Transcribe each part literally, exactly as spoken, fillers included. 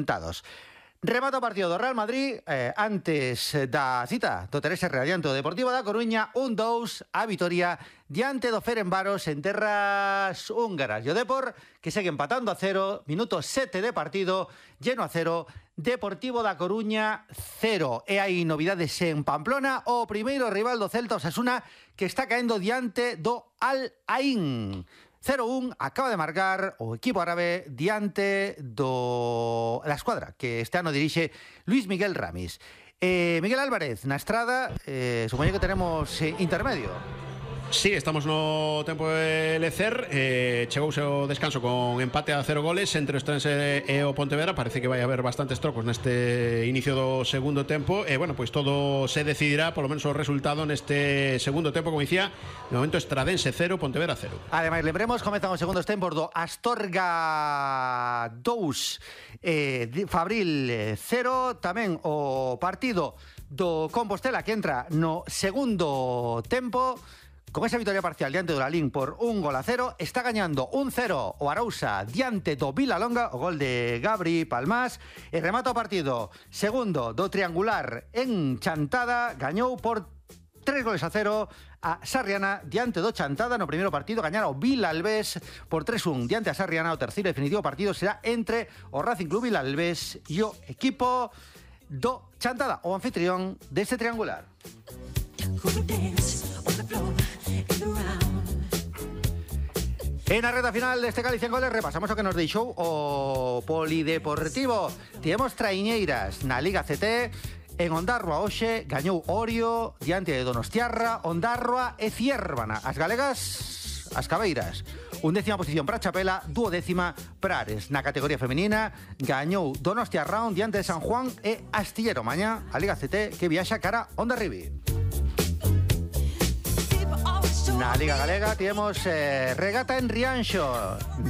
Tados. Remata o partido do Real Madrid eh, antes da cita do Teresa Real diante do Deportivo da Coruña. Un dous a vitoria diante do Ferencváros en terras húngaras. E o Depor que segue empatando a cero. Minuto sete de partido, lleno a cero. Deportivo da Coruña cero. E hai novidades en Pamplona. O primeiro rival do Celta, Osasuna, que está caendo diante do Al Ain. cero un, acaba de marcar o equipo árabe diante do la escuadra que este ano dirixe Luis Miguel Ramis. Eh, Miguel Álvarez, na estrada, eh, supoño que tenemos eh, intermedio. Sí, estamos no tempo de lecer. eh, Chegouse o descanso con empate a cero goles entre o Estrense e o Pontevedra. Parece que vai haber bastantes trocos neste inicio do segundo tempo. E, bueno, pois todo se decidirá, polo menos o resultado neste segundo tempo. Como dicía, de momento Estradense cero, Pontevedra cero. Ademais, lembremos, comezan os segundos tempos do Astorga dous, eh, Fabril cero. Tamén o partido do Compostela que entra no segundo tempo. Con esa victoria parcial diante do Lalín por un gol a cero, está gañando un cero o Arousa diante do Vilalonga, o gol de Gabri Palmás, e remata o partido segundo do triangular en Chantada, gañou por tres goles a cero a Sarriana diante do Chantada. No primeiro partido gañara o Vilalbés por tres un diante a Sarriana. O terceiro e definitivo partido será entre o Racing Club Vilalbés e o equipo do Chantada, o anfitrión deste triangular. En a reta final deste Galicia en Goles repasamos o que nos deixou o Polideportivo. Tivemos traiñeiras na Liga C T. En Ondarroa hoxe gañou Orio diante de Donostiarra, Ondarroa e Ciérvana. As galegas, as cabeiras. Undécima posición para Chapela, duodécima para Ares. Na categoría femenina gañou Donostiarra diante de San Juan e Astillero. Mañá a Liga C T que viaxa cara Hondarribi. Na Liga Galega tivemos eh, regata en Rianxo.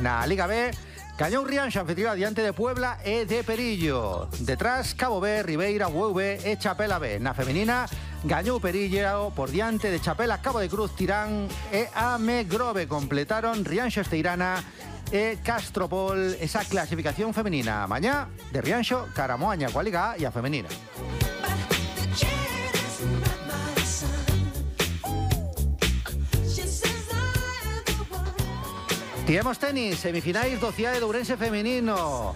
Na Liga B gañou Rianxo anfitrión diante de Puebla e de Perillo. Detrás Cabo B, Ribeira, U V e Chapela B. Na femenina gañou Perillo por diante de Chapela, Cabo de Cruz, Tirán e Amegrove. Completaron Rianxo, Esteirana e Castropol esa clasificación femenina. Mañá de Rianxo, Caramoaña coa Liga A e a femenina. Tivemos tenis, semifinais do Cidade de Ourense femenino.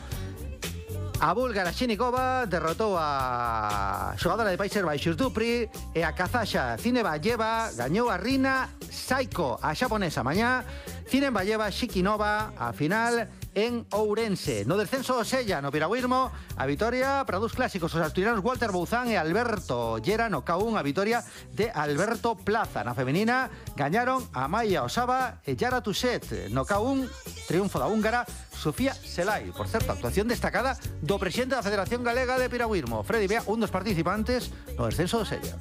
A búlgara Shinikova derrotou a xogadora de Países Baixos Dupri e a kazaxa Zinevalleva gañou a Rina Saiko, a xaponesa. Mañá Zinevalleva Shikinova a final en Ourense. No descenso Sella, no Piragüismo, a vitoria para dous clásicos, os asturianos Walter Bouzán e Alberto Llera. No K un a vitoria de Alberto Plaza. Na femenina gañaron a Maya Osaba e Yara Tuset. No K un, triunfo da húngara Sofía Selay. Por certo, actuación destacada do presidente da Federación Galega de Piragüismo, Freddy Bea, un dos participantes no descenso do Sella.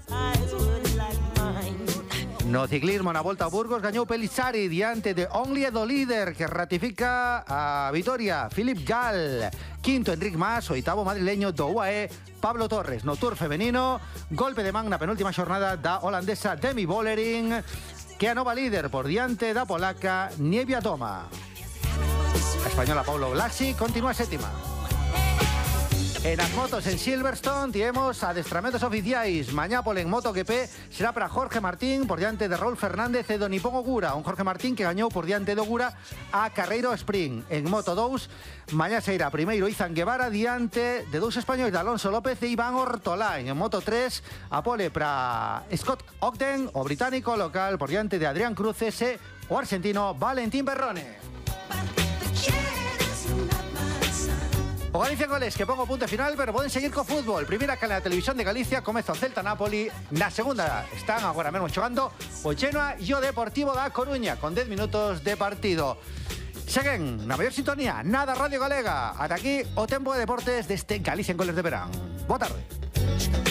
No ciclismo, na Volta a Burgos, gañou Pellizzari diante de Only do líder, que ratifica a vitoria Philip Gall. Quinto, Enric Mas, oitavo madrileño do U A E, Pablo Torres. No Tour femenino, golpe de man na penúltima xornada da holandesa Demi Vollering, que a nova líder por diante da polaca Niebia Toma. A española Paulo Blasi continúa sétima. En as motos en Silverstone tivemos adestramentos oficiais. Mañá polo en MotoGP será para Jorge Martín por diante de Raúl Fernández e do Nippon Ogura. Un Jorge Martín que gañou por diante de Ogura a Carreiro Sprint. En Moto dous, mañá se irá primeiro Izan Guevara diante de dous españois de Alonso López e Iván Ortolán. En Moto tres, a pole para Scott Ogden, o británico local, por diante de Adrián Cruces e o argentino Valentín Perrone. O Galicia Goles, que pongo punto final, pero poden seguir co fútbol. Primeira canle da televisión de Galicia, comeza o Celta Napoli. Na segunda están agora mesmo xogando o Genoa e o Deportivo da Coruña, con dez minutos de partido. Seguen na maior sintonía, nada Radio Galega. Ata aquí o tempo de deportes deste Galicia en Goles de verán. Boa tarde.